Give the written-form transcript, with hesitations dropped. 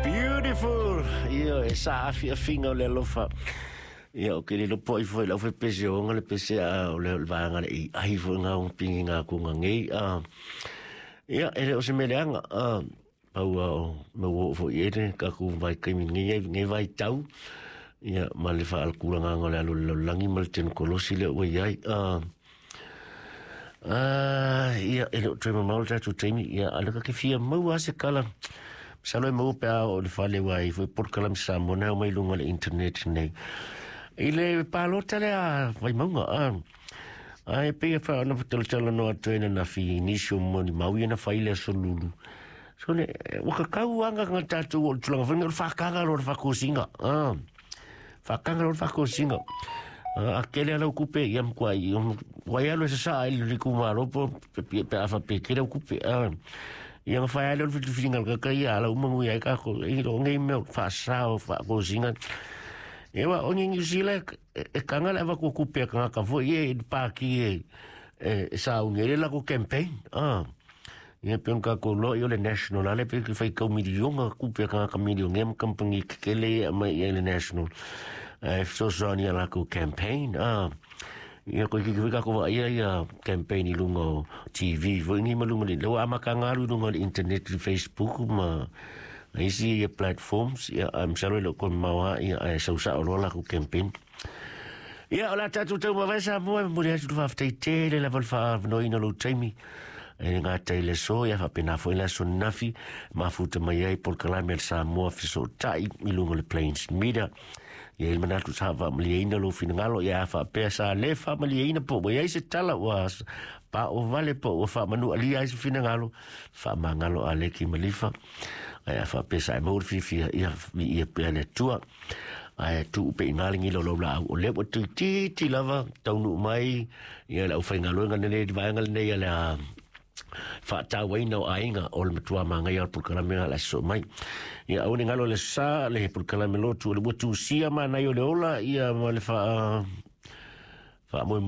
Beautiful. Ia e sa afi afinga o le alofa. Ia o ke le lopo i foi lau fe pese o nga le pese a o le vaanga le i ai foi ngā o pingi ngā kunga ngei. Ia e le o se meleanga. Paua o me wo foi e le kaku vai kaimi ngei ngei vai tau. Ia ma le wha alkura ngā ngā le alo le langi ma le tenu kolosi le ua iai. Ia e le o toe mamau le tātou taimi. Ia ala ka ke fia maua se kala. Salo e maua pea o le whale wai foi porkalami sa mona o mai lunga le internet nei. I le pālota le a vai maunga. Ai pe wha ana whatalatala no atu ena na fi nisi o moni maui ana whaile a solulu. So le, waka kau anga ngā tātou o le tulanga whainga o le whakanga lo le whakosinga. Whakanga lo le whakosinga. A kele ala kupe ia mkwa i wai alo sa sa i le kumaro po pe afa pe kele kupe. Ia nga whai alo le whitu ka kai ala umangu ia ka ko i ro ngai meo whasao whakosinga. Ewa o New Zealand e kanga le ava ko kupe ka ka fo e paki e sa ungere la ko campaign. Ia pe ka ko lo i o le national ale pe ki whai kau milionga kupe ka ka milionga em kampangi kele ma i le national. E so so ni ala ko campaign. Ia ko ki ka ko ia ia campaign i lunga o TV fo ni malunga le lo ama ka ngaru lunga le internet Facebook ma isi ia platforms ia am salo lo kon mawa ia e sau sa o la ko campaign. Ia o la tatu tau mawesa mua mo le atu fa te te le level fa no ina lo taimi. E ngā teile so ia whapena foi la so nafi mafuta mai ai por kalame sa mua fiso tai i lunga le Plains Media. Ia il manatu sa fa maliaina lo finangalo ia fa pea sa le fa maliaina po ia se tala ua pa o vale po ua fa manu ali ai se finangalo fa mangalo ale ki malifa. Ai fa pea sa mo fi fi ia ia pea le tua. Ai tu pe ngalingi lo lo la o le o tu ti ti lava taunu mai ia la u whaingalo nga nene vaenga nei ia la whaatauaina o ainga o le matua mangai al pulkalame la so mai. Ia au ni ngalo le sa le pulkalame lotu le watu sia mana i o le ola ia ma le wha mo